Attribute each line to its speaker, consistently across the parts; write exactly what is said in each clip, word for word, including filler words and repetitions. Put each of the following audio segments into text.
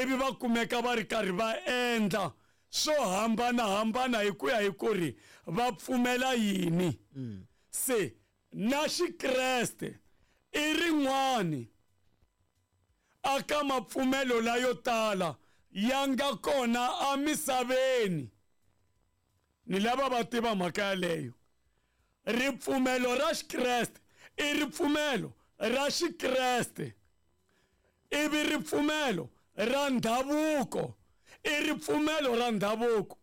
Speaker 1: Ivi va kumeka va ri karhi va endla swo hambanahambana hi ku ya hi ku ri va pfumela yini. Se na Xikreste i rin'wani aka mapfumelo layo tala ya nga kona emisaveni. Ni lava va tiva mhaka yaleyo. Ripfumelo ra Xikreste i ripfumelo ra Xikreste, ivi ripfumelo ra ndhavuko i ripfumelo ra ndhavuko.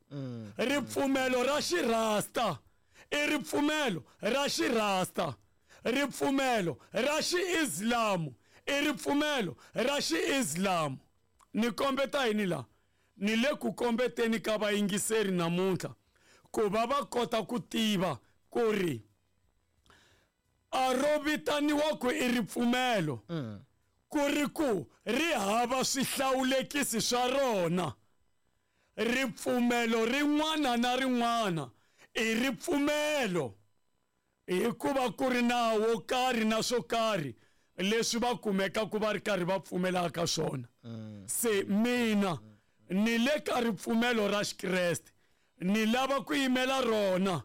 Speaker 1: Ripfumelo ra Xirasta i ripfumelo ra Xirasta. Ripfumelo ra Xiislamu i ripfumelo ra Xiislamu. Ni kombeta yini la? Ni le ku kombeteni ka vayingiseri namuntlha ku va va kota ku tiva ku ri a ro vitaniwa ku i ripfumelo, ku ri ku ri hava swihlawulekisi swa rona. Ripfumelo rin'wana na rin'wana i ripfumelo hikuva ku ri nawu wo karhi na swo karhi leswi va kumekaka va ri karhi va pfumelaka swona. Se mina ni le ka ripfumelo ra Xikreste, ni lava ku yimela rona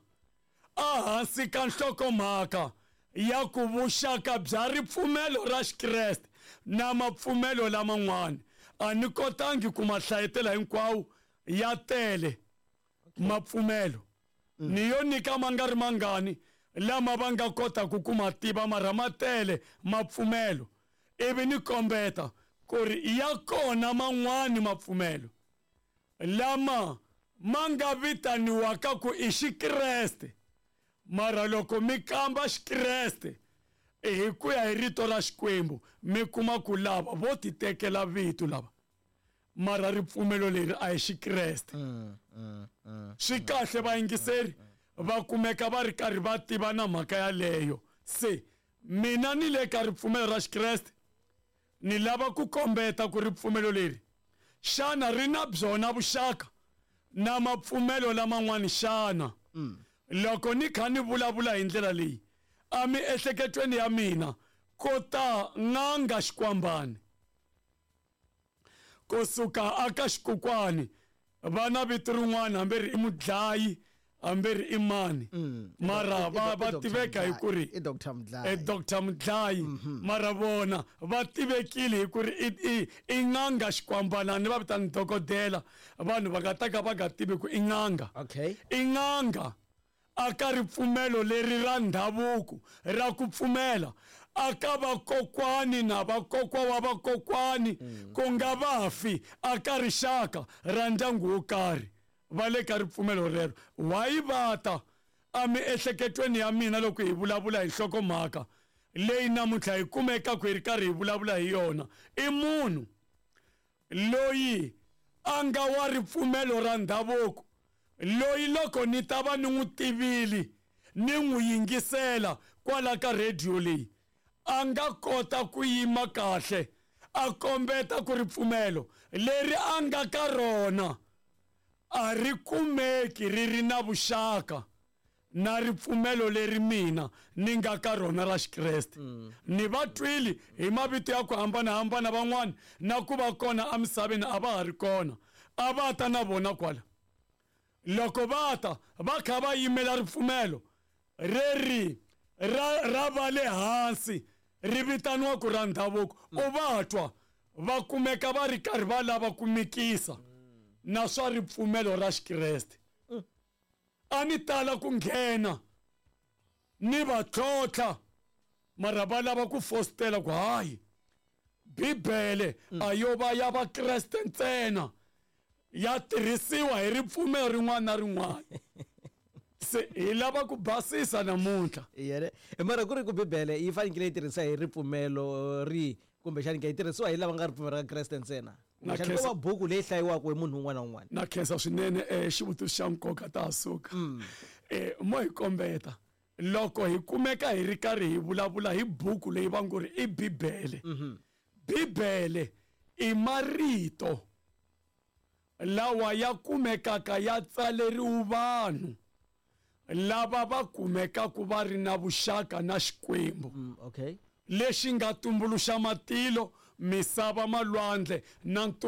Speaker 1: ehansi ka nhlokomhaka ya ku vuxaka bya ripfumelo ra Xikreste na mapfumelo laman'wana. A ni kotangi ku ma hlayetela hinkwawo, ya tele mapfumelo. Ni yo nyika ma nga ri mangani lama va nga kotaka ku ma tiva, mara ma tele mapfumelo. Ivi ni kombeta ku ri ya kona man'wani mapfumelo lama ma nga vitaniwaka ku i Xikreste, mara loko mi kamba Xikreste hi ku ya hi rito ra Xikwembu, mi kuma ku lava vo ti tekela vito lava, mara ripfumelo leri a hi Xikreste. Swi kahle vayingiseri va kumeka va ri karhi va tiva na mhaka yaleyo. Se mina ni le ka ripfumelo ra Xikreste, ni lava ku kombeta ku ripfumelo leri xana ri na byona vuxaka na mapfumelo laman'wani xana? Loko ni kha ni vulavula hi ndlela leyi, a miehleketweni ya mina ko ta n'anga Xikwambani kusuka aka Xikukwani, va na vito rin'wana hambi ri i mudlayi hambi ri i mani, mara va va tiveka hi ku ri
Speaker 2: i Doctor Mudlayi.
Speaker 1: I Doctor Mudlayi, mara vona va tivekile hi ku ri i i i n'anga Xikwambana, ni va vitana dokodela, vanhu va nga ta ka va nga tivi ku i n'anga.
Speaker 2: Okay.
Speaker 1: I n'anga aka ripfumelo leri ra ndhavuko ra ku pfumela aka vakokwani na vakokwa wa vakokwani, ku nga vafi aka rixaka ra ndyangu wo karhi, va le ka ripfumelo rero. Why va ta emiehleketweni ya mina loko hi vulavula hi nhlokomhaka leyi namuntlha hi kumekaka hi ri karhi hi vulavula hi yona? I munhu loyi a nga wa ripfumelo ra ndhavuko, loyi loko ni ta va ni n'wi tivile ni n'wi yingisela kwala ka radio leyi, a nga kota ku yima kahle a kombeta ku ripfumelo leri a nga ka rona a ri kumeki ri ri na vuxaka na ripfumelo leri mina ni nga ka rona ra Xikreste. Ni va twile hi mavito ya ku hambanahambana van'wani, na ku va kona emisaveni a va ha ri kona, a va ta na vona kwala. Loko va ta va kha va yimela ripfumelo reri ra ra va le hansi ri vitaniwa ku ra ndhavuko, u va twa va kumeka va ri karhi va lava ku mikisa na swa ripfumelo ra Xikreste. A ni tala ku nghena ni va tlhontlha, mara va lava ku fositela ku hayi Bibele a yo va ya Vakreste ntsena, ya tirhisiwa hi ripfumelo rin'wana na rin'wana. Se hi lava ku basisa namuntlha.
Speaker 2: Yene mara ku ri ku Bibele yi fanekele yi tirhisa hi ripfumelo ri kumbexani ke yi tirhisiwa hi lava nga ripfumelo ra Kreste ntsena,
Speaker 1: Na
Speaker 2: kumbexani ko
Speaker 1: khensa.
Speaker 2: va buku leyi hlayiwaka hi munhu un'wana na un'wana?
Speaker 1: Na khensa swinene, eh, xivutiso xa nkoka ta ha suka. Eh, mo hi kombeta loko hi kumeka hi ri karhi hi vulavula hi buku leyi va ngo ri i Bibele. Bibele i marito lawa ya kumekaka ya tsaleriwe vanhu lava va kumekaka va ri na vuxaka na Xikwembu.
Speaker 2: Mm, okay
Speaker 1: Lexi nga tumbuluxa matilo, misava, malwandle na ntumbuluko.